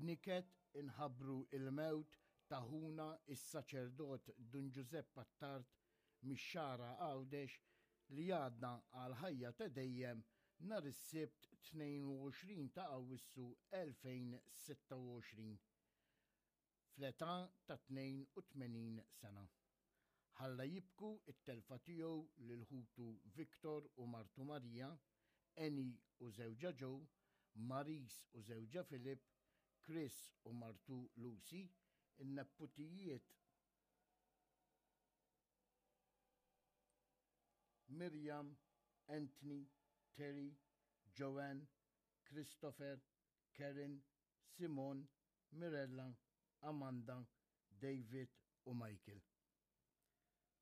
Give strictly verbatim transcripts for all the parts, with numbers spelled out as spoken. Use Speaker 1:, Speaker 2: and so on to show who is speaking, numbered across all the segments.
Speaker 1: B'niket inħabbru il-mewt ta' ħuna is-saċerdot Dun Ġużepp Attard mix-Xagħra Għawdex li għadda għal ħajja ta' dejjem nhar is-Sibt tnejn u għoxrin ta' Awwissu elfejn sitta u għoxrin fl-età ta' tnejn u tmenin sena. Ħalla jibku it-telfa tiegħu lil ħutu Victor u martu Marija, Eni u żewġha Joe, Maris u żewġha Philip, Chris u martu Lucy, in-nepputijiet Miriam, Anthony, Terry, Joanne, Christopher, Karen, Simon, Mirella, Amanda, David u Michael.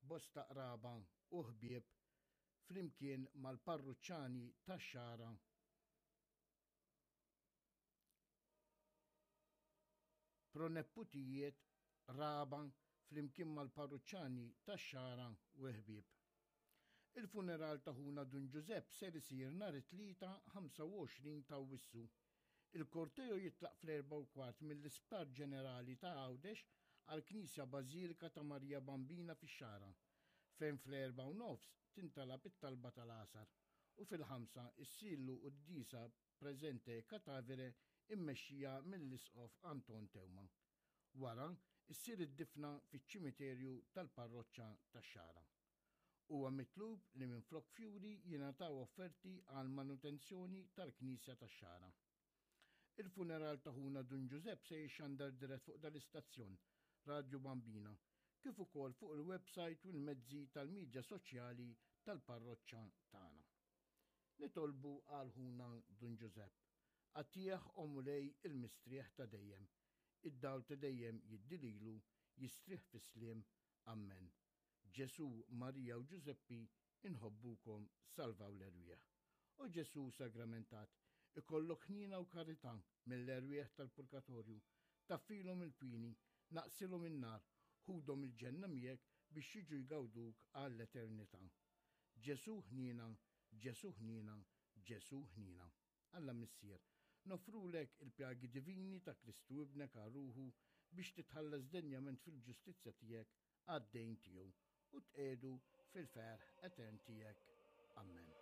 Speaker 1: Bosta qraba u ħbieb flimkien mal-parruċċani tax-Xagħra proneputijiet raba flimkien mal-parruċċani tax-Xagħra u ħbieb. Il-funeral ta' ħuna Dun Ġużepp ser isir nhar it-Tlieta ħamsa u għoxrin ta' Awwissu. Il-korteo jitlaq fl-erba' u kwart mill-Isptar Ġenerali ta' Għawdex għall-Knisja Bażilika ta' Marija Bambina fix-Xagħra, fejn fl-erba' u nofs tintalab it-talba tal-għasar u fil-ħamsa issirlu quddiesa preżente katavere immexxija mill-Isqof Anton Teuma. Wara, issir id-difna fiċ-ċimiterju tal-parroċċa tax-Xagħra. Huwa mitlub li minflok fjuri jingħataw offerti għal manutenzjoni tal-Knisja tax-Xagħra. Il-funeral ta' ħuna Dun Ġużepp se jixxandar dirett fuq dal-istazzjon, Radio Bambina, kif ukoll fuq il-website u l-mezzi tal-midja soċjali tal-parroċċa tagħna. Nitolbu għal ħuna Dun Ġużepp. Għatih o Mulej il-mistrieħ ta' dejjem. Id-dawl ta' dejjem jiddililu, jistrieħ fis-sliem. Amen. Ġesu, Marija u Ġużeppi, inħobbukom, salvaw l-erwieħ. O Ġesu sagramentat, ikollok ħniena u karità mill-erwieħ tal-purgatorju, taffilhom il-pini, naqsilhom in-nar, ħudhom il-ġenna miegħek biex jiġu jgawduk għall-eternità. Ġesu ħniena, Ġesu ħniena, Ġesu ħniena. Alla Missier, nofrulek il-pjagi divini ta' Kristu ibnek għal ruħu biex titħallas denjament fil-ġustizzja tiegħek għad-dejn tiegħu u tqegħdu fil-ferħ etern tiegħek. Amen.